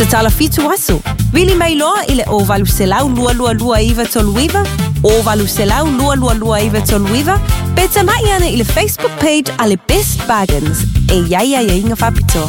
Tatala 7 aso. Vili mai loa i le 0800 222 939, 0800 222 939, pe tamai ane i le Facebook page a le Best Bargains e i ai aiaiga faapitoa.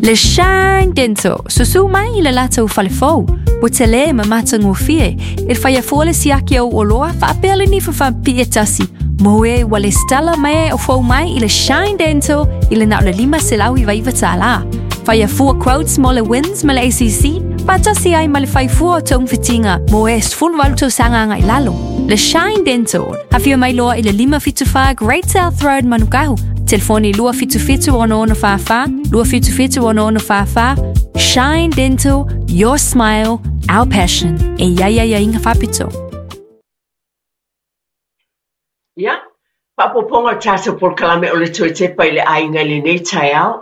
Le Shine Dental, susu mai i le latou fale fou. Ua tele ma matagofie e faia fua le siaki au oloa faapea le nifa faapipii e tasi. Mo e ua lesitala mai o fou mai i le Shine Dental i le na o le $599. Faia fua quotes mo le WINZ ma le ACC, faatasi ai ma le fai fua o togafitiga mo e 18 tausaga agai lalo. Le Shine Dental, afio mai loa i le 574 Great South Road Manukau, telefoni 277 6644, 277 6644. Shine Dental, your smile, our passion. E i ai aiaiga faapitoa. Ia, faaopoopoga o le tatou polokalame o le toe tepa i le aiga i lenei taeao,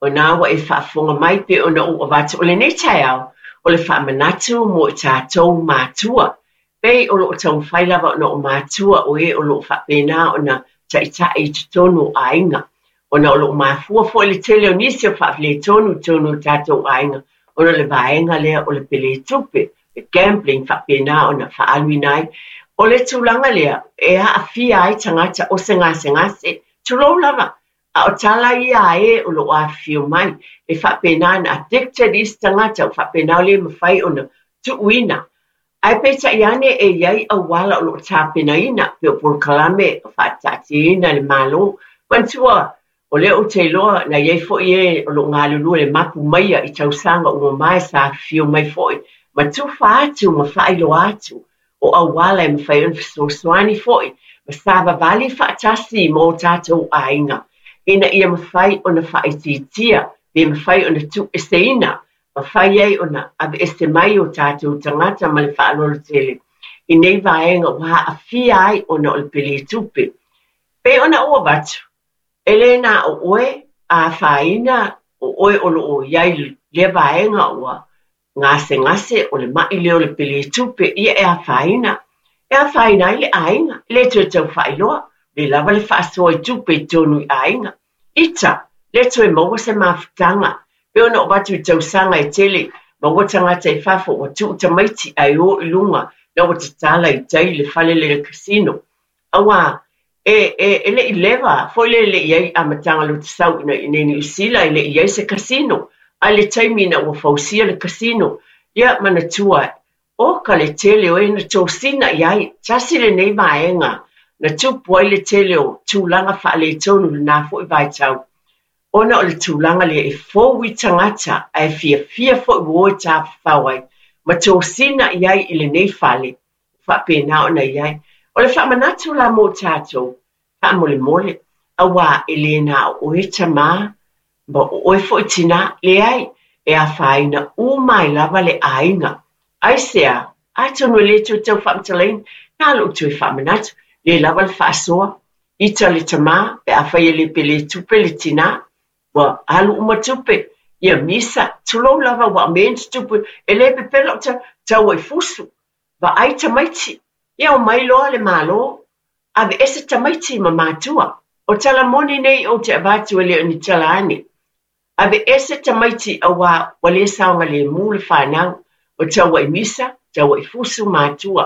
o na ua e faafofoga mai pei ona ou avatu o lenei taeao, o le faamanatu mo i tatou matua. Pei o lo o taumafai lava ona o matua o e o lo o faapena ona taitai i totonu o aiga. Ona o lo o mafua foi le tele o nisi o faafiletonu i totonu o tatou aiga ona o le vaega lea o le peletupe, le gambling faapena ona faaaluina ai. O le tulaga lea e aafia ai tagata o se gasegase, tulou lava, a o tala ia a e o lo o afifio mai, e faapena ona addicted isi tagata ua faapena ua le mafai ona tuuina. Ae peitai ane e i ai auala o lo o tapenaina pei o polokalame faataatiaina e le Malo. Manatua, o lea ou te iloa na i ai foi e o lo o galulue i le mapu maia i tausaga ua mavae sa afifio mai foi ma tufa atu ma faailoa atu o auala e mafai ona fesoasoani foi ma savavali faatasi ma o tatou aiga ina ia mafai ona faaitiitia pe mafai ona tuueseina mafai ai ona aveese mai o tatou tagata ma le faaaloalo tele i nei vaega ua aafia ai ona o le peletupe. Pei ona ou avatu, e le na o oe a afaina o oe o lo o i ai i lea vaega ua gasegase o le maʻi lea o le peletupe, ia e afaina. E afaina ai le aiga, e le toe tau faailoa, le lava le faasoa i tupe i totonu i aiga. Ita, le toe maua se mafutaga, pei ona ou avatu i tausaga e tele, maua tagata i fafo ua tuu tamaiti ae o i luga na ua tatala i tai le fale lea le casino. Auā, e, e, e le i leva foi lea e le i ai amataga loto-sau i inei Niu Sila, e le i ai se casino. A i le taimi ina ua fausia le casino, ia manatua, Oka le tele o e na tosina i ai, tasi lenei vaega na tupu ai le tele o tulaga faaletonu i lena foi vaitau, ona o le tulaga lea e fou i tagata ae fiafia foi ua o e tafafao ai ma tosina i ai i lenei fale, ua faapena ona i ai. O le faamanatu la mo tatou, faamolemole, auā e le na o oe tamā Ma o oe foi tinā, leai, e afaina uma ai lava le aiga. Aisea? Atonu e le toe tau faamatalaina, na lou toe faamanatu, le lava le faasoa, ita le tamā, pe afai e le pele tupe le tinā, ua alu uma tupe, ia misa, tulou lava ua mea ni tupe, e le pepelo o tau ai fusu, vaai tamaiti, ia omai loa le Malo, Aveese tamaiti ma matua. O tala moni nei ou te avatu e le o ni tala ane. Aveese tamaiti auā ua le saogalemu le fanau, ua taua'i misa, taua'i fusu matua.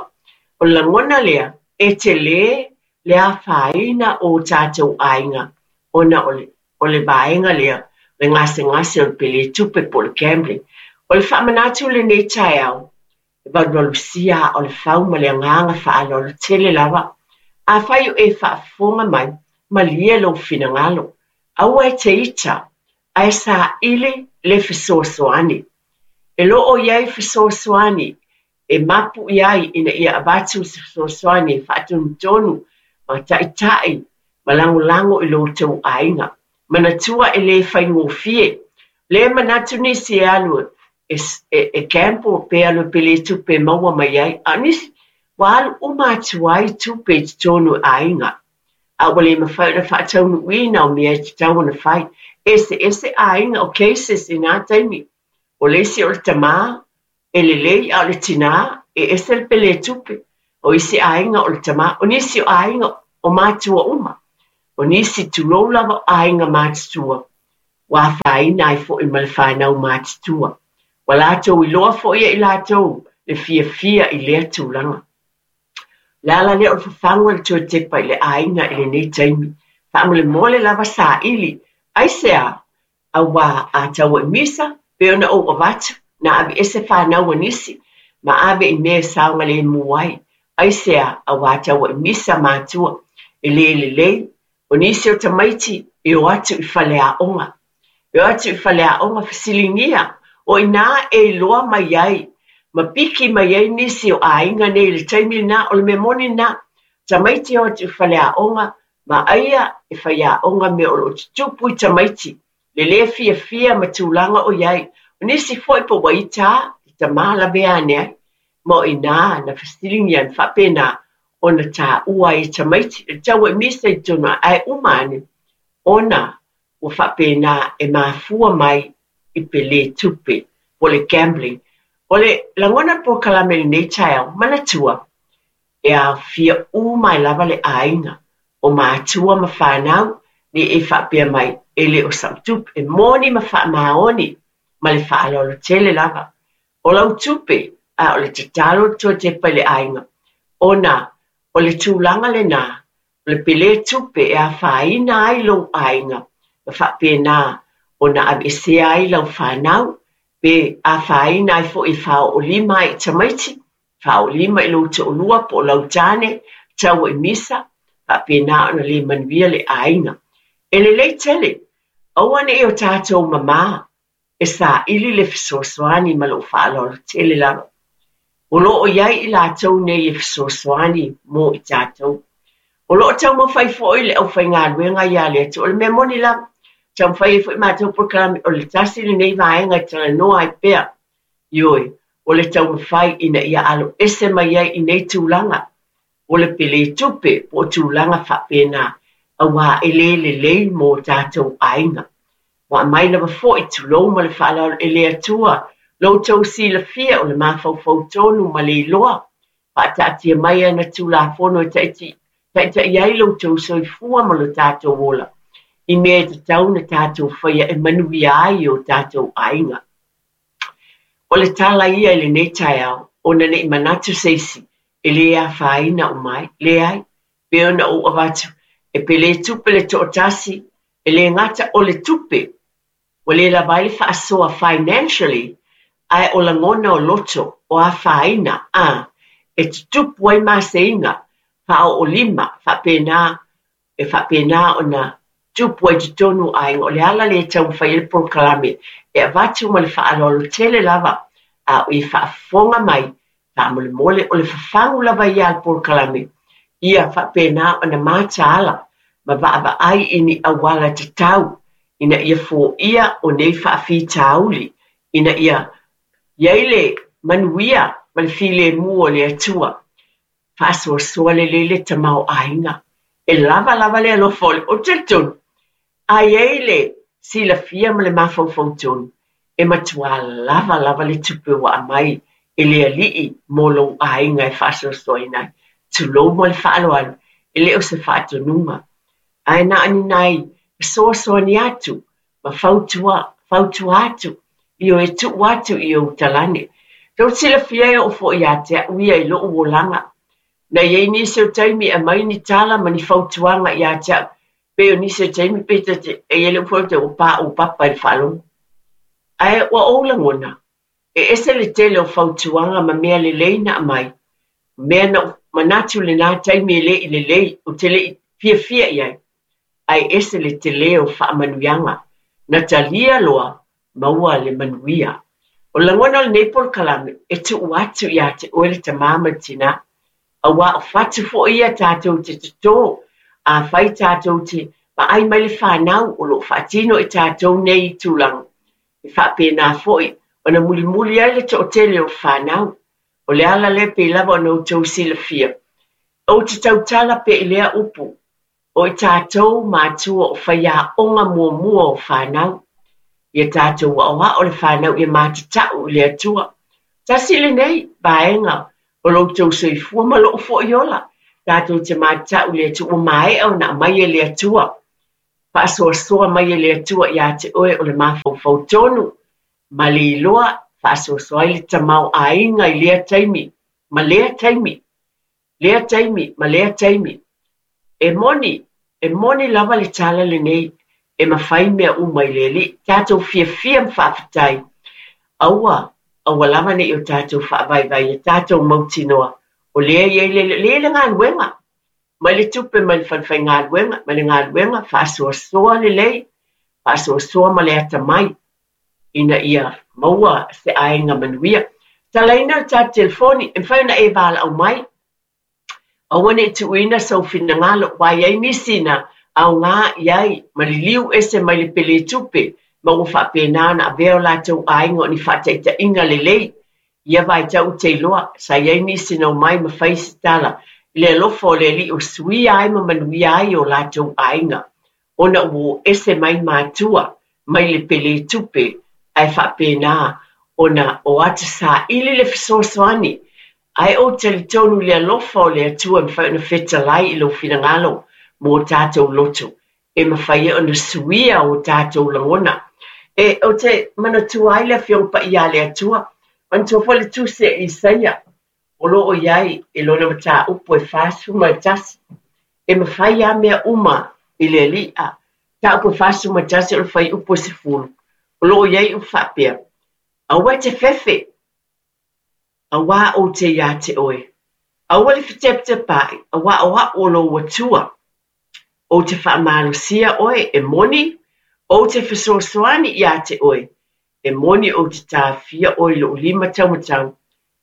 O le lagona lea, e telē le afaina o o tatou aiga ona o le o le vaega lea, le gasegase o le peletupe po o le gambling. O le faamanatu i lenei taeao, E valuvalusia aa o le fau ma le agaga faaaloalo tele lava. Afai o e faafofoga mai, malie lou finagalo. Aua e te ita, ae saili le fesoasoani. E lo o i ai fesoasoani e mapu i ai ina ia avatu se fesoasoani e faatonutonu ma taitai ma lagolago i lo outou aiga. Manatua e le faigofie. Le manatu nisi e alu e, e, e gamble pe alu e pele tupe e maua mai ai, a o nisi ua alu uma atu ai tupe i totonu o aiga. A ua le mafai ona faataunuuina o mea e tatau ona fai. Eseese aiga o cases i nā taimi. O le isi o le tamā e lelei a o le tinā e ese le pele tupe. O isi aiga o le tamā, o nisi o aiga o matua uma. O nisi tulou lava o aiga matutua. Ua afaina ai foi ma le fanau matutua. Ua latou iloa foi e i latou le fiafia i lea tulaga. O le ala lea o le fafagu e le toe tepa i le aiga i lenei taimi. Faamolemole lava saili. Aisea? Auā a tau i misa, pei ona ou avatu, na aveese fanau a nisi ma ave i mea e saogalemu ai. Aisea? Auā tau i misa matua, e le lelei. O nisi o tamaiti e o atu i faleaoga. E o atu i faleaoga fesiligia, o inā e iloa mai ai ma piki mai ai nisi o aiga nei i le taimi lena, o le mea moni lena. Tamaiti e o atu i faleaoga ma aia e faiaoga mea o lo o tutupu i tamaiti, le lē fiafia ma tulaga o i ai. O nisi foi po ua ita le tama lavea ane ai, ma o inā na fesiligia na faapena ona taua ai e tamaiti le tau e misa i totonu ae uma ane ona ua faapena e mafua mai i pelē tupe po o le gambling. O le lagona o le polokalame i lenei taeao, manatua, e aofia uma ai lava le aiga, o matua ma fanau, ne i e faapea mai e le o sau tupe, e moni ma faamaoni ma le faaaloalo tele lava. O lau tupe, a o le tatalo le toe tepa i le aiga, ona o le tulaga lena, o le pelē tupe e afaina ai lou aiga ma faapena ona aveesea ai lau fanau, pe afaina ai foi e faaoolima ai i tamaiti, faaoolima i lou toalua po o lau tane, tau i misa, faapena ona le manuia le aiga. E lelei tele, aua ne i o tatou mamā e saili le fesoasoani ma lou faaaloalo tele lava. O lo o i ai i latou nei e fesoasoani mo i tatou. O lo o taumafai foi le aufaigaluega ia le Atua. O le mea moni lava, taumafai ai foi matou polokalame, o le tasi lenei vaega e talanoa ai pea. Ioe, o le taumafai ina ia aloese mai ai i nei tulaga. O le pelē tupe po o tulaga faapena, auā e le lelei mo tatou aiga. Ua aumai lava foi, tulou ma le faaaloalo e le Atua lo outou silafia o le mafaufau tonu ma le iloa, faataatia mai ana Tulafono e taitaia ai lo outou soifua ma lo tatou ola, i mea e tatau ona tatou faia e manuia ai o tatou aiga. O le tala ia i lenei taeao, ona ne i manatu se isi e lē afaina uma ai. Leai, pei ona ou avatu, e pelē tupe le toatasi, e lē gata o le tupe, ua lē lava ai le faasoa financially, ae o lagona o loto, o afaina, a, e tutupu ai maseiga, faaoolima, faapena e faapena ona tupu ai totonu o aiga. O le ala lea e taumafai ai le polokalame e avatu ma le faaaloalo tele lava, a o e faafofoga mai, faamolemole, o le fafagu lava ia a le polokalame, ia faapena ona mataala ma vaavaai i ni auala tatau ina ia foia o nei faafitauli, ina ia i ai le manuia ma le filemu o le Atua. Faasoasoa lelei le tamaoaiga. E lava lava le alofa o le. Ou te talitonu, a i ai le silafia ma le mafaufau tonu, e matuā lava lava le tupe ua aumai e le Alii mo lou aiga e faasoasoaina ai. Tulou ma le faaaloalo, e le o se faatonuga, ae na o ni nai fesoasoani atu ma fautua, fautua atu, ioe, tuu atu i ou talane. Tou te silafia e oo foi ia te au ia i lou olaga. Na i ai nisi o taimi e aumai ni tala ma ni fautuaga ia te au, pei o nisi o taimi pei ta te, e i ai le upu foi ua paopapa i le faalogo. Ae ua ou lagona, e ese le tele o fautuaga ma mea lelei na aumai, mea na ou manatu i lena taimi e le i lelei, ou te le i fiafia i ai. Ae ese le telē o faamanuiaga na talia loa maua le manuia. O le lagona o lenei polokalame, e tuu atu ia te oe le tamā ma le tinā, auā o fatu foi ia tatou te totō, afai tatou te vaai mai le fanau o lo o faatino i tatou nei tulaga, e faapena foi ona mulimuli ai le toatele o fanau. O le ala lea pei lava ona outou silafia, ou te tautala pea i lea upu, O i tatou matua o faiaoga muamua o fanau. Ia tatou aoao le fanau ia matatau i le Atua. Tasi lenei vaega o lo outou soifua ma lou foi ola. Tatou te matatau i le Atua ua maea ona aumai e le Atua. Faasoasoa mai e le Atua iā te oe o le mafaufau tonu ma le iloa, faasoasoa ai le tamaoaiga i lea taimi ma lea taimi, lea taimi ma lea taimi. E moni, e moni lava le tala lenei, e mafai mea uma i le Alii. Tatou fiafia ma faafetai. Aua, aua lava ne i o tatou faavaivai ia tatou mautinoa o lea e i ai le, lea e i ai le galuega. Mai le tupe mai le falefaigaluega, mai le galuega, faasoasoa lelei, faasoasoa ma le atamai ina ia maua se aiga manuia. Talaina le tatou telefoni, e mafai ona e valaau mai. Aua ne i tuuina sou finagalo, aua e i ai nisi na aoga i ai ma liliu ese mai le pele tupe ma ua faapena ona avea o latou aiga o ni faataitaiga lelei. I ia vaitau ou te iloa, sa i ai nisi na omai ma fai se tala i le alofa o le Alii ua suia ai ma manuia ai o latou aiga, ona ua o ese mai matua mai le pele tupe ae faapena ona o atu saili le fesoasoani. Ae ou talitonu i le alofa o le Atua e mafai ona fetalai i lou finagalo mo tatou loto e mafai ai ona suia o tatou lagona. E, ou te manatua ai le Afioga Paia a le Atua, manatua foi le Tusi a Isaia, o lo o i ai i lona mataupu e 41, e mafai lava mea uma i le Alii. A, mataupu e 41 o le fuaiupu e 10, o lo o i ai upu faapea, Aua e te fefe, auā ou te iā te oe. Aua le fetepatepaai, auā o a'u o lou Atua. Ou te faamalosia oe, e moni, ou te fesoasoani iā te oe, e moni ou te taofia oe i lou lima taumatau,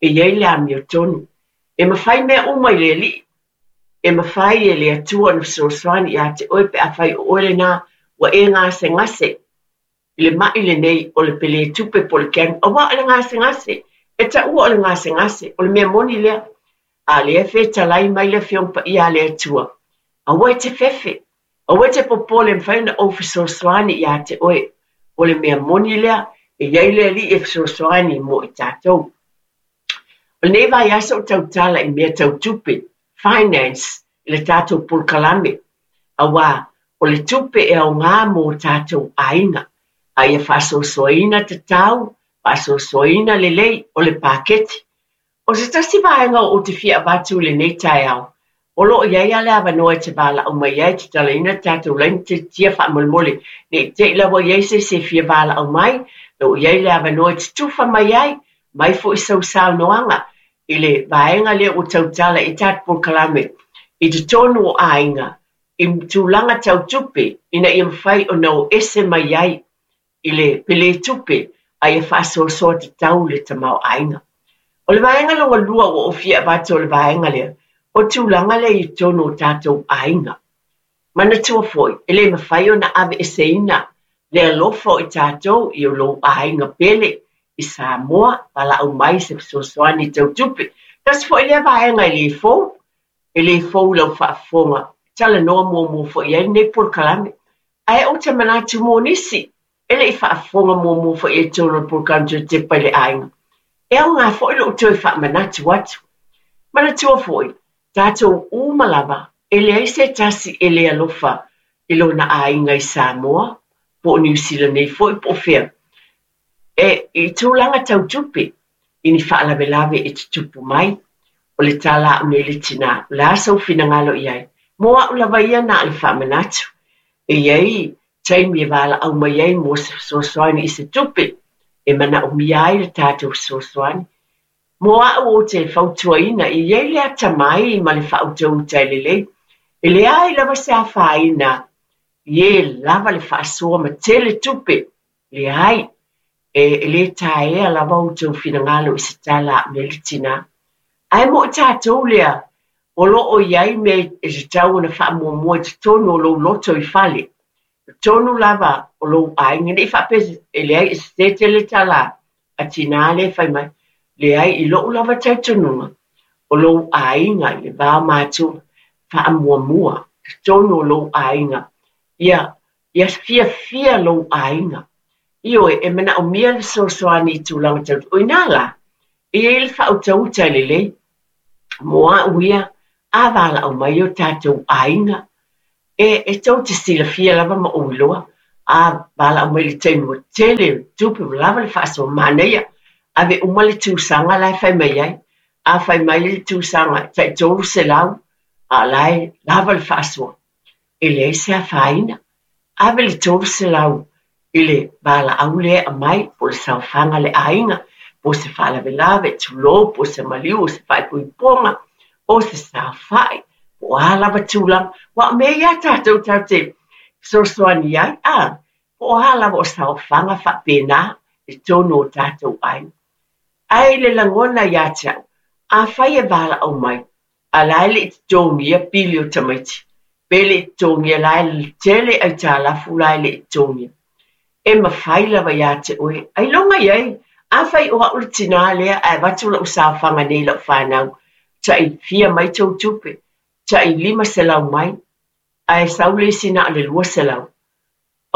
e i ai le amiotonu. E mafai mea uma i le Alii. E mafai e le Atua ona fesoasoani iā te oe pe afai o oe lenā ua e gasegase i le maʻi lenei o le pelē tupe po o le cancer, aua o le gasegase, e taua o le gasegase, o le mea moni lea. A lea e fetalai mai le Afioga Paia a le Atua, aua e te fefe, aua e te popole e mafai ona ou fesoasoani iā te oe. O le mea moni lea, e i ai le Alii e fesoasoani mo i tatou. O lenei vaiaso ou tautala i mea tau tupe, finance, i le tatou polokalame, auā o le tupe e aoga mō tatou aiga, a ia faasoasoaina tatau, faasoasoaina lelei o le paketi. O se tasi vaega ou te fia avatu i lenei taeao, o lo o i ai lava le avanoa e te valaau mai ai e tatalaina le tatou laina tiatia faamolemole ne i te i lava i ai se isi e fia valaau mai, o lo o i ai le avanoa e te tufa mai ai, mai foi sau saunoaga i le vaega lea ua tautala i tatou polokalame i totonu o aiga i tulaga tau tupe ina ia mafai ona o ese mai ai i le pele tupe a ia faasoasoa tatau le tamaoaiga. O le vaega lona lua ua ou fia avatu o le vaega lea, o tulaga lea i totonu o tatou aiga. Manatua foi, e le mafai ona aveeseina le alofa o i tatou i o lou aiga pele i Samoa, valaau mai se fesoasoani tau tupe. Tasi foi lea vaega e le fou, e le fou i lau faafofoga, talanoa muamua foi i ai lenei polokalame. Ae ou te manatu mo nisi e le i faafofoga muamua foi i totonu o le polokalame Toe Tepa i le Aiga, e aoga foi lou toe faamanatu atu. Manatua foi, tatou uma lava, e leai se tasi e le alofa i lona aiga i Samoa, po o Niu Sila nei foi po o fea. E, i tulaga tau tupe, i ni faalavelave e tutupu mai, o le tala a'u nei le tinā, o le a sou finagalo i ai? Mo a'u lava ia na o le faamanatu. E i ai taimi e valaau mai ai mo se fesoasoani i se tupe e manaomia ai le tatou fesoasoani. Mo a'u ou te fautuaina, e i ai le atamai ma le faautauta e lelei. E leai lava se afaina i e lava le faasoa ma tele tupe. Leai, e le taea lava outou finagalo i se tala a'u nei le tinā. Ae mo i tatou lea, o lo o i ai mea e tatau ona faamuamua i totonu o lou loto i fale, totonu lava o lou aiga, ne i faapea e leai e sese tele tala a tinā lea e fai mai. Leai, i lo'u lava talitonuga, o lou aiga i le va o matua, faamuamua totonu o lou aiga, ia Ia fiafia lou aiga. Ioe, e manaomia le fesoasoani i tulaga tau. O i inā la, e i ai le faautauta e lelei. Mo a'u ia, a valaau mai o tatou aiga. E, e tou te silafia lava ma ou iloa, a valaau mai i le taimi ua tele tupe ua lava le faasoa, manaia, ave uma le tusaga la e fai mai ai. A fai mai le tusaga e tai 300, a o la e lava le faasoa. E leai se afaina. Ave le 300 i le valaau lea e aumai, po o le saofaga a le aiga, po o se faalavelave, tulou, po o se maliu, o se faaipoipoga, o se saofai, po o a lava tulaga. Aua o mea ia a tatou tatou te fesoasoani ai, a, po o a lava o saofaga faapena i totonu o tatou aiga. Ae i le lagona ia te au, afai e valaau mai, a la e le i totogia pili o tamaiti, pe le i totogia la e tele aitalafu la e le i totogia, e mafai lava ia te oe, ailoga i ai, afai o au le tinā lea ae avatu lau saofaga nei i lau fanau, tai fia mai tou tupe, tai 500 mai, ae sau le isi na o le 200,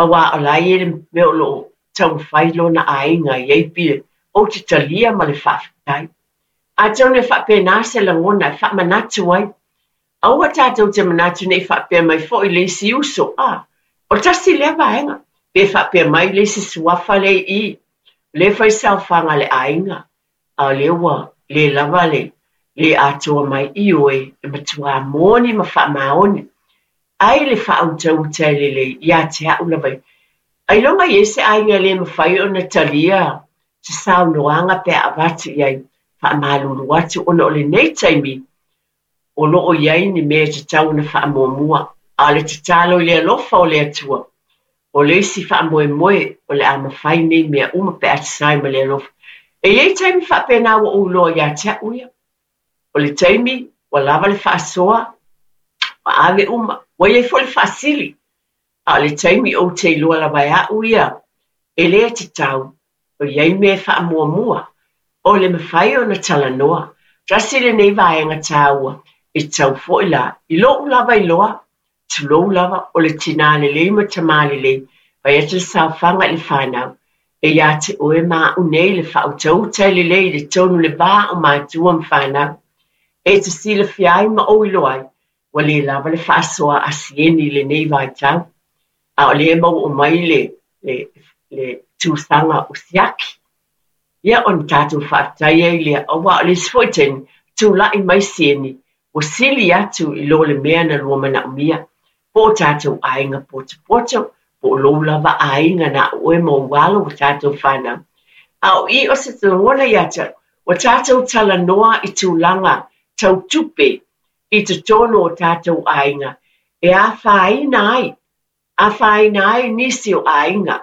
aua o la e i ai le mea o lo o taumafai lona aiga i ai pili, ou te talia ma le faafetai. Atonu e faapena se lagona e faamanatu ai. Aua tatou te manatu ne i faapea mai foi le isi uso, a, o le tasi lea vaega, pe faapea mai le isi suafa lea i i, o lea e fai saofaga a le aiga, a o lea ua le lava le le atoa mai, ioe, e matuā moni ma faamaoni. Ai le faautauta e lelei ia te au lava ia. Ailoga i ai se aiga e le mafai ona talia se saunoaga pe a avatu i ai, faamalulu atu ona o lenei taimi o lo o i ai ni mea e tatau ona faamuamua, a o le tatalo i le alofa o le Atua, o le isi faamoemoe o le a mafai nei mea uma pe a tasai ma le alofa. E i ai taimi faapena ua ou iloa ia te au ia. O le taimi ua lava le faasoa, ua ave uma, ua i ai foi le faasili. A o le taimi ou te iloa lava e au ia, e le tatau, o i ai mea e faamuamua, o le mafai ona talanoa. Tasi lenei vaega taua e tatau foi la, i lou lava iloa, tulou lava, o le tinā lelei ma tamā lelei, fai atu le saofaga i le fanau, e ia te oe ma au nei le faautauta e lelei i le tonu le va o matua ma fanau. E te silafia ai ma ou iloa ai, ua le lava le faasoa a Sieni i lenei vaitau, a o lea e maua mai le, le, le tusaga o siaki. Ia ona tatou faafetai ai lea, aua o le isi foi taimi, tulai mai Sieni, ua sili atu i lo le mea na lua manaomia, po o tatou aiga potopoto, po o lou lava aiga na o oe ma ou alo ua tatou fanau. A o i o se lagona ia te au, ua tatou talanoa i tulaga tau tupe i totonu o tatou aiga e afaina ai, afaina ai nisi o aiga,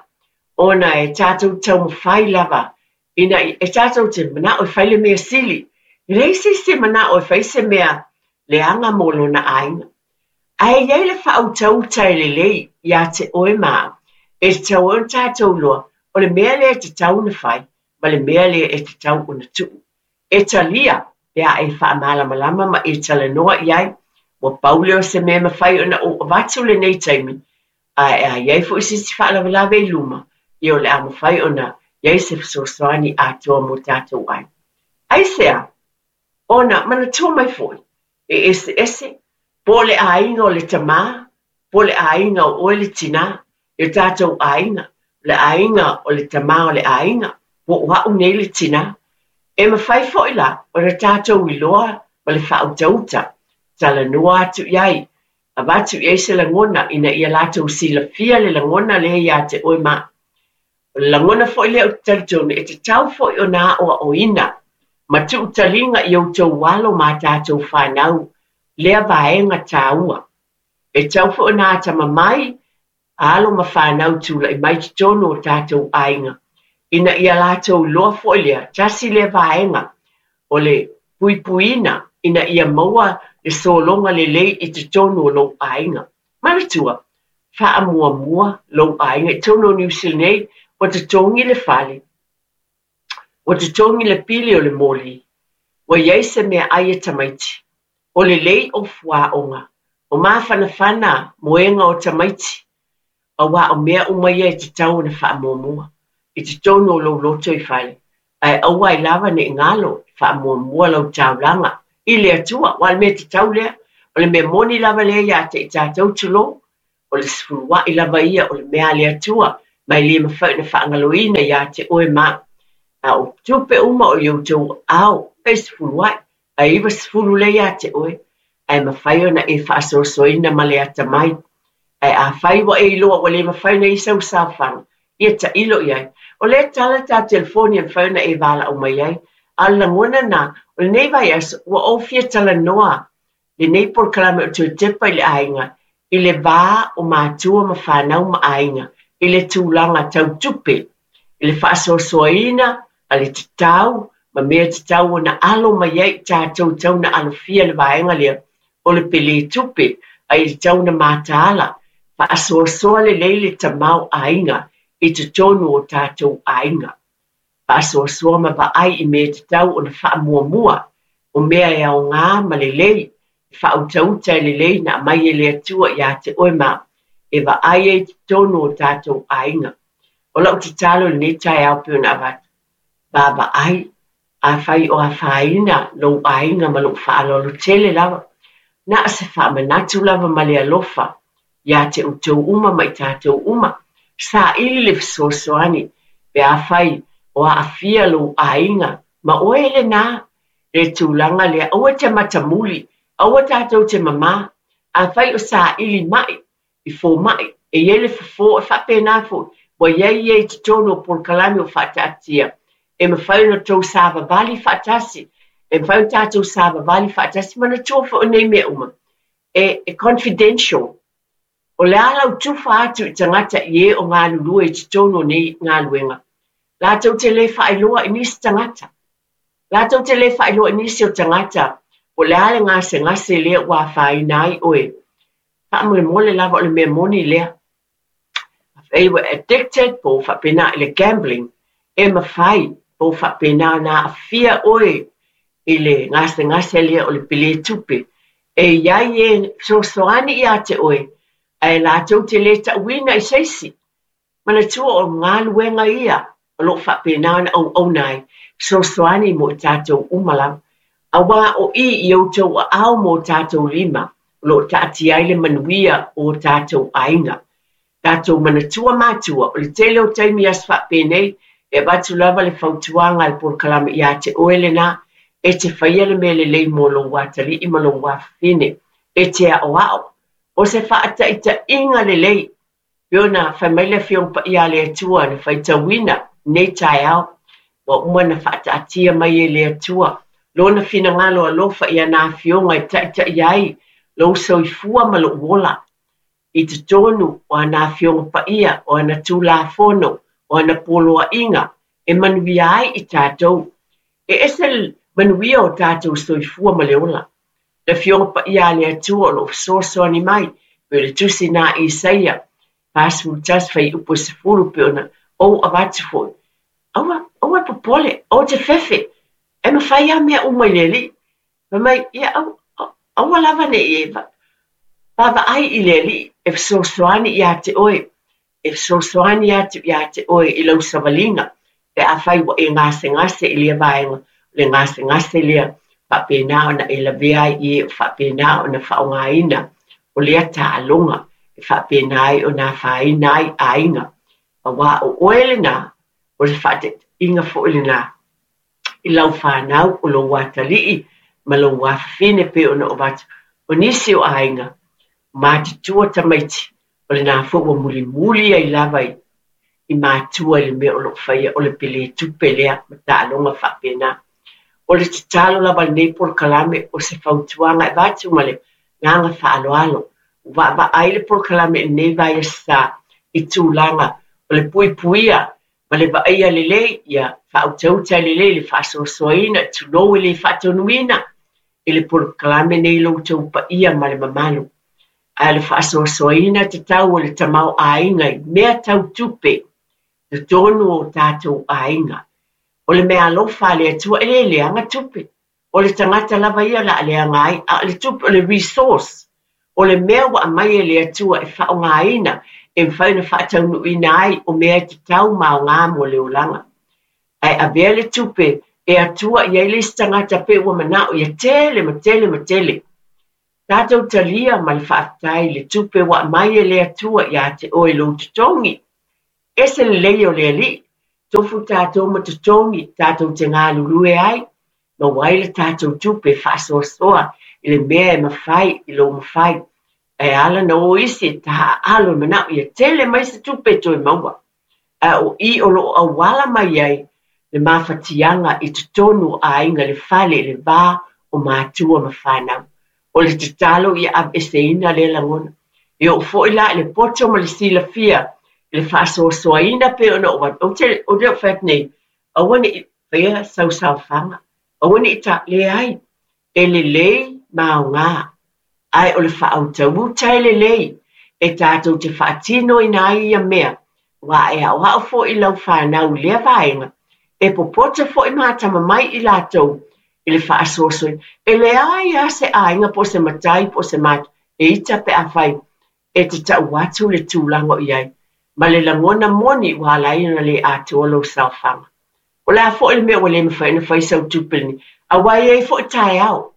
ona e tatou taumafai lava ina e tatou te manao e fai le mea sili. E leai se isi e manao e fai se mea leaga mo lona aiga. Ae i ai le faautauta e lelei ia te oe ma au, e tatau ai ona tatou iloa o le mea lea e tatau ona fai ma le mea lea e tatau ona tuu. E talia pe a e faamalamalama ma e talanoa i ai, ua pau lea o se mea e mafai ona ou avatu lenei taimi, ae a i ai foi se isi faalavelave i luma, ia o le a mafai ona i ai se fesoasoani atoa mo tatou aiga. Aisea? Ona manatua mai foi, e eseese, po o le aiga o le tamā, po o le aiga o oe le tinā, i o tatou aiga, o le aiga o le tamā o le aiga, po o au nei le tinā. E mafai foi la ona tatou iloa ma le faautauta, talanoa atu i ai, avatu i ai se lagona ina ia latou silafia le lagona lea ia te oe ma au. O le lagona foi lea ou te talitonu e tatau foi ona aoaoina ma tuutaliga i outou alo ma a tatou fanau lea vaega taua. E tatau foi ona atamamai alo ma fanau tulai mai totonu o tatou aiga ina ia latou iloa foi lea, tasi lea vaega o le puipuiina ina ia maua le sologa lelei i totonu o lou aiga. Manatua, faamuamua lou aiga i totonu o Niu Sila nei, ua totogi le fale, ua totogi le pili o le moli, ua i ai se meaai a tamaiti, o lelei o fuaoga, o mafanafana moega o tamaiti, aua o mea uma ia e tatau ona faamuamua i totonu o lou loto i fale, ae aua ai lava ne i galo e faamuamua lau taulaga i le Atua, aua o le mea tatau lea, o le mea moni lava lea ia te i tatou, tulou. O le sefulua'i lava ia o le mea a le Atua, ma e le mafai ona faagaloina iā te oe ma a'u. A o tupe uma o i outou aao, fai sefulua'i, ae 90 lea iā te oe, ae mafai ona e faasoasoaina ma le atamai. Ae afai ua e iloa ua le mafai ona i ai sau saofaga, ia tailo i ai. O lea e tala le tatou telefoni e mafai ona e valaau mai ai. A o le lagona lena, o lenei vaiaso, ua ou fia talanoa lenei polokalame o Toe Tepa i le Aiga i le va o matua ma fanau ma aiga i le tulaga tau tupe, i le faasoasoaina a le tatau ma mea tatau ona alo mai ai i tatou e tatau ona alofia le vaega lea o le pelē tupe a ia tatau ona mataala, faasoasoa lelei le tamaoaiga i totonu o tatou aiga. Faasoasoa ma vaai i mea e tatau ona faamuamua, o mea e aoga ma lelei, e faautauta e lelei na aumai e le Atua iā te oe ma a'u, e vaai ai i totonu o tatou aiga. O lau tatalo i lenei taeao pei ona avatu, vaavaai, afai o afaina lou aiga ma lou faaaloalo tele lava, na o se faamanatu lava ma le alofa iā te outou uma ma i tatou uma. Saili le fesoasoani pe afai o aafia lou aiga ma oe lenā le tulaga lea. Aua e te matamuli, aua tatou te mamā. Afai o saili ma'i i fomai, e i ai le fofo, e faapena foi, ua i ai ia i totonu o polokalame ua faataatia, e mafai ona outou savavali faatasi, e mafai ona tatou savavali faatasi. Manatua foi o nei mea uma, e, e confidential. O le a lau tufa atu i tagata i e o galulue i totonu o nei galuega, latou te le faailoa i nisi tagata. Latou te le faailoa i nisi o tagata po o le a le gasegase lea ua afaina ai oe. Faamolemole lava o le mea moni lea. Afai ua addicted po ua faapena i le gambling, e mafai po ua faapena ona aafia oe i le gasegase lea o le pelē tupe. E i ai e fesoasoani ia te oe, ae latou te le tauina i se isi. Manatua o galuega ia o lo o faapena ona auauna ai, fesoasoani mo i tatou uma lava. Aua o i i outou aao ma o tatou lima o lo o taatia ai le manuia o o tatou aiga. Tatou manatua matua, o le tele o taimi i aso faapenei, e avatu lava le fautuaga a le polokalame ia te oe lena, e te faia le mea lelei mo lou atalii ma lou afafine, e te aoao. O se faataitaiga lelei Pei ona fai mai le Afioga Paia a le Atua na faitauina lenei taeao, ua uma ona faataatia mai e le Atua Lona finagalo alofa i ana Afioga e taitaia ai lou soifua ma lou ola i totonu o ana Afioga Paia, o ana Tulafono, o ana poloaiga e manuia ai i tatou. E ese le manuia o tatou soifua ma le ola. Le Afioga Paia a le Atua o lo o fesoasoani mai, pei o le tusi na a Isaia 41 fuaiupu 10 pei ona ou avatu foi. Aua, aua e popole, aua te fefe, e mafai lava mea uma i le Alii. Fai mai, ia, aua, aua lava ne i e vaavaai i le Alii e fesoasoani ia te oe, e fesoasoani atu ia te oe i lau savaliga pe afai ua e gasegase i lea vaega, o le gasegase lea faapena ona e lavea ai i e o faapena ona faaaogaina o lea taaloga e faapena ai ona afaina ai aiga. Aua o oe lenā, o le faataitaiga foi lenā i lau fanau, o lou atalii ma lou afafine pei ona ou avatu. O nisi o aiga, matutua tamaiti, o lenā foi ua mulimuli ai lava i matua i le mea o lo o faia, o le pelē tupe lea ma taaloga faapena. O le tatalo lava a lenei polokalame, o se fautuaga e avatu ma le agaga faaaloalo, ua vaavaai le polokalame i lenei vaiaso sa i tulaga o le puipuia ma le vaaia lelei, ia faautauta lelei le faasoasoaina, tulou e le faatonuina i le polokalame nei lo outou paia ma le mamalu. Ae o le faasoasoaina tatau o le tamaoaiga i mea tau tupe totonu o tatou aiga. O le meaalofa a le Atua e le leaga tupe. O le tagata lava ia o le a leaga ai, a o le tupe, o le resource, o le mea ua aumai e le Atua e faaaogaina e mafai ona faataunuuina ai o mea e tatau ma aoga mo le olaga. Ae avea le tupe e atua i ai le isi tagata pei ua manao ia tele ma tele ma tele. Tatou talia ma le faafetai le tupe ua aumai e le Atua ia te oe i lou totogi. Ese lelei o le Alii, tofu tatou ma totogi tatou te galulue ai, maua ai le tatou tupe e faasoasoa i le mea e mafai i lou mafai. Ae ala ona o isi e taaalo e manao ia tele mai se tupe e toe maua. Ae o i o lo o auala mai ai le mafatiaga i totonu o aiga i le fale i le va o matua ma fanau. O le tatalo ia aveeseina lea lagona. E oo foi la i le poto ma le silafia i le faasoasoaina pei ona ou avatu, ou te le o fai atu nei, aua ne i faia sau saofaga, aua ne i ta, leai, e lelei ma aoga, ae o le faautauta e lelei e tatou te faatinoina ai ia mea, aua e aoao foi i lau fanau i lea vaega, e popoto foi ma atamamai i latou i le faasoasoaina. E leai lava se aiga po o se matai po o se matua e ita pe afai e te tau atu le tulaga o i ai, ma le lagona moni ua ala ai ona le atoa lou saofaga. O le a foi le mea ua le mafai ona fai sau tupe lenei, aua e i ai foi taeao.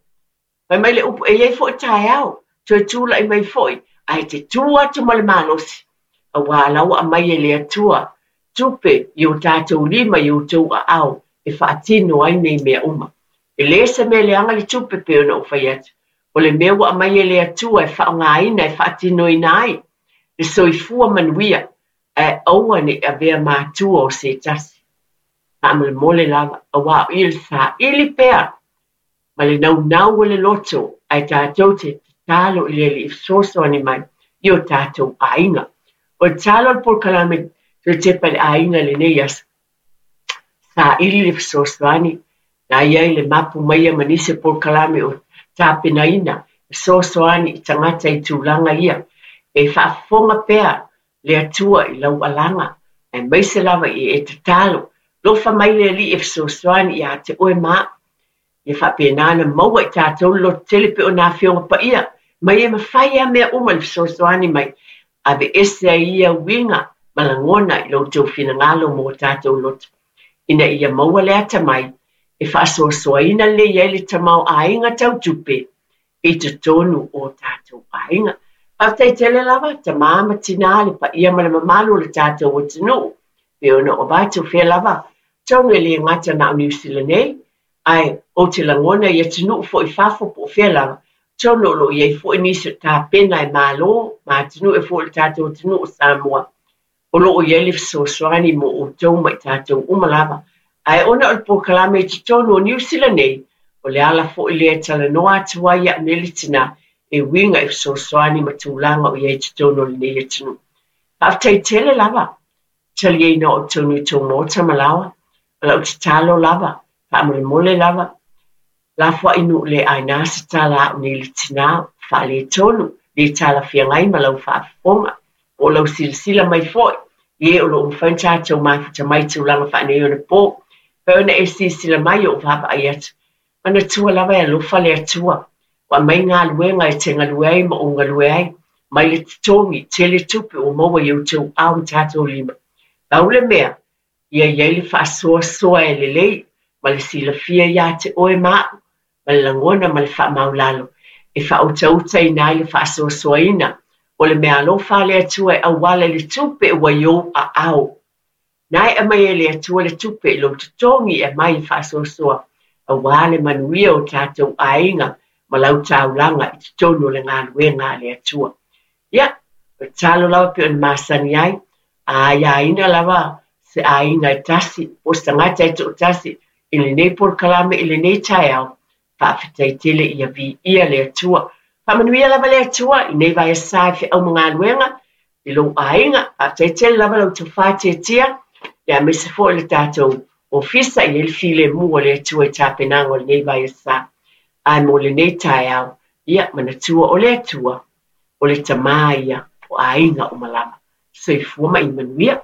Fai mai le upu, e i ai foi taeao, toe tulai mai foi, ae te tu atu ma le malosi, aua la ua aumai e le Atua tupe i o tatou lima i outou aao e faatino ai nei mea uma. E le se mea leaga le tupe pei ona ou fai atu. O le mea ua aumai e le Atua e faaaogaina e faatinoina ai le soifua manuia, ae aua ne i avea matua o se tasi. Faamolemole lava, aua o i le saili pea ma le naunau o le loto, ae tatou te tatalo i le Alii e fesoasoani mai i o tatou aiga. O le tatalo a le polokalame toe tepa i le aiga i lenei aso, saili le fesoasoani, na i ai le mapu maia ma nisi o polokalame o tapenaina fesoasoani i tagata i tulaga ia. E faafofoga pea le Atua i lau alaga, aemaise lava i e tatalo, lofa mai le Alii e fesoasoani ia te oe ma au. Ia faapena ona maua i tatou le lototele pei o nā Afioga Paia mai e mafai lava mea uma le fesoasoani mai, aveese ai ia uiga ma lagona i lo outou finagalo mo tatou loto, ina ia maua le atamai e faasoasoaina lelei ai le tamaoaiga tau tupe i totonu o tatou aiga. Faafetai tele lava, tamā ma tinā, le paia ma le mamalu o le tatou atunuu, pei ona ou avatu fea lava, atonu e le gata na o Niu Sila nei, ae ou te lagona i atunuu foi i fafo po o fea lava, atonu o lo o i ai foi nisi o tapena e Malo ma atunuu e foi le tatou atunuu o Samoa, o lo o i ai le fesoasoani mo outou ma i tatou uma lava. Ae ona o le polokalame i totonu o Niu Sila nei, o le ala foi lea e talanoa atu ai iaʻu nei le tinā e uiga i fesoasoani ma tulaga o i ai i totonu o lenei atunuu. Faafetai tele lava, taliaina o totonu i tou maota ma laoa, o lau tatalo lava, faamolemole lava, lafoai nuu le aina se tala a'u nei le tinā, faaletonu, le talafeagai ma lau faafofoga, po o lau silasila mai foi, i e o lo o mafai ona tatou mafuta mai i tulaga faaneionapo, pei ona e silasila mai o ou vaavaai atu. Manatua lava e alofa le Atua, ua aumai galuega e te galue ai ma ou galue ai, mai le totogi, tele tupe ua maua i outou ao ma tatou lima. Pau le mea, ia i ai le faasoasoa e lelei ma le silafia iā te oe ma aʻu, ma le lagona ma le faamaulalo, e faautautaina ai le faasoasoaina o le meaalofa a le Atua e auala i le tupe ua i ou aao. Na e aumai e le Atua le tupe i lou totogi e aumai e faasoasoa aua le manuia o tatou aiga ma lau taulaga i totonu o le galuega a le Atua. Ia, o le tatalo lava pei ona masani ai, a aiaina lava se aiga e tasi, po o se tagata e toatasi i lenei polokalame i lenei taeao, faafetai tele ia viia le Atua. Faamanuia lava le Atua i nei vaiaso i feau ma galuega i lou aiga. Faafetai tele lava lau tofa tiatia, ia aemaise foi le tatou ofisa i ai le filemu o le Atua i tapenaga o lenei vaiaso. Ae mo lenei taeao, ia manatua o le Atua, o le Tamā ia o aiga uma lava. Soifua ma ia manuia.